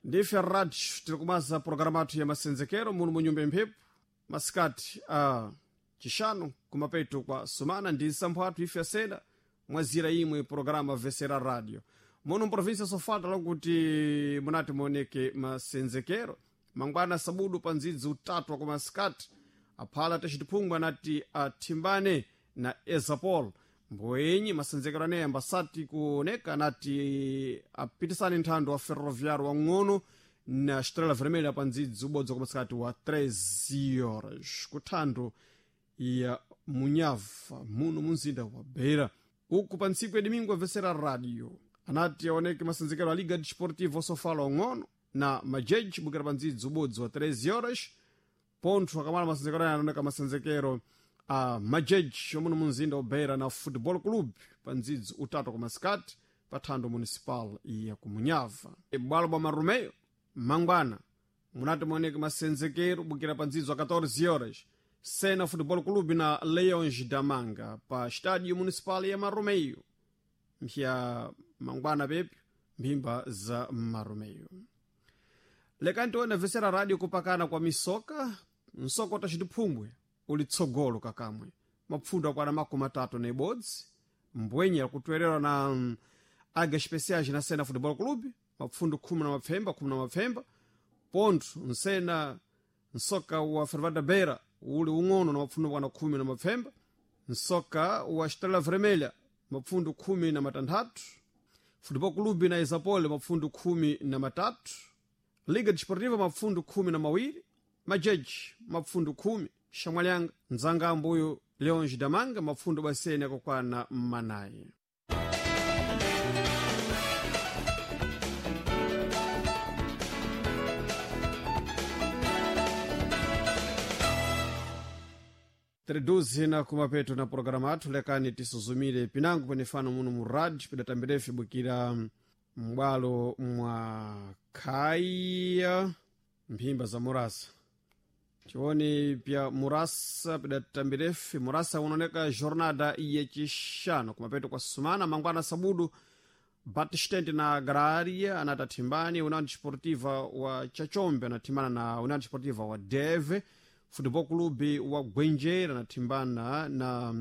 Ndife radio tiri kumaza programa athu ya masenzekero muno mu nyumba imphepo masikati a chixano kumapeto kwa sumana ndi nsampho athu ife asena mwazira imwe programa vesera radio muno mprovinsia sofala lokuti munati muoneke masenzekero mangwana sabudu pa ndzidzi utatu wa kumasikati aphala tacitiphungwa anati athimbane na ezapol mboyenyi masenzekero aneyi ambasati kuoneka anati apitisane nthando wa ferroviário wang'ono na estrela vermelha pa ndzidzi ubodzi wa kumasikati wa 13 horas kuthando ya munyava muno munzinda wa beira uku pa ntsiku ya domingo avesera radio anati aoneke masenzekero a liga desportiva osofala ong'ono na majeji bukira pa ndzidzi ubodzi wa 13 horas pontho akamala masenzekero aya anaoneka masenzekero a majeji omuno munzinda wa beira na football club pa ndzidzi utatu kwa masikati pa thando municipal ya kumunyava bwalo bwa marumeyo mangwana munati muoneke masenzekero bukira pa ndzidzi wa 14 horas Sena Futebol Clube na Leões da Manga pa estádio municipal ya Marumeio mpya mangwana pepi mphimba za Marumeio. Lekani tione vesera radio kupakana kwa misoka msoko tacitiphungwe uli tsogolo kakamwe mapfundo akwana makumi atatu na ibodzi mbwenye akutwerera na Águias Especiais na Sena Futebol Clube mapfundo khumi na mapfemba khumi na mapfemba pontho nsena nsoka wa Fervada Beira uli ung'ono na mapfundo kwana khumi na mapfemba nsoka wa Estrela Vermelha mapfundo khumi na matanthatu Futebol Clube na Isapole mapfundo khumi na matatu Liga Desportiva mapfundo khumi na mawiri Majeji mapfundo khumi Xamwalyanga ndzanga ambuyo Leões da Manga mapfundo basene akukwana manayi. Triduzi na kumapeto na programa athu lekani tisuzumire pinango penefano muno mu radio pidatambirefe bukira m'bwalo mwa khaya mphimba za murasa tione pya murasa pidatambirefe murasa unaoneka jornada yecixano kumapeto kwa sumana mangwana sabudu Batistente na Agraria anati athimbane União Desportiva wa Chachombe anathimbana na União Desportiva wa Deve Futebol Clube wa Gwenjera anathimbana na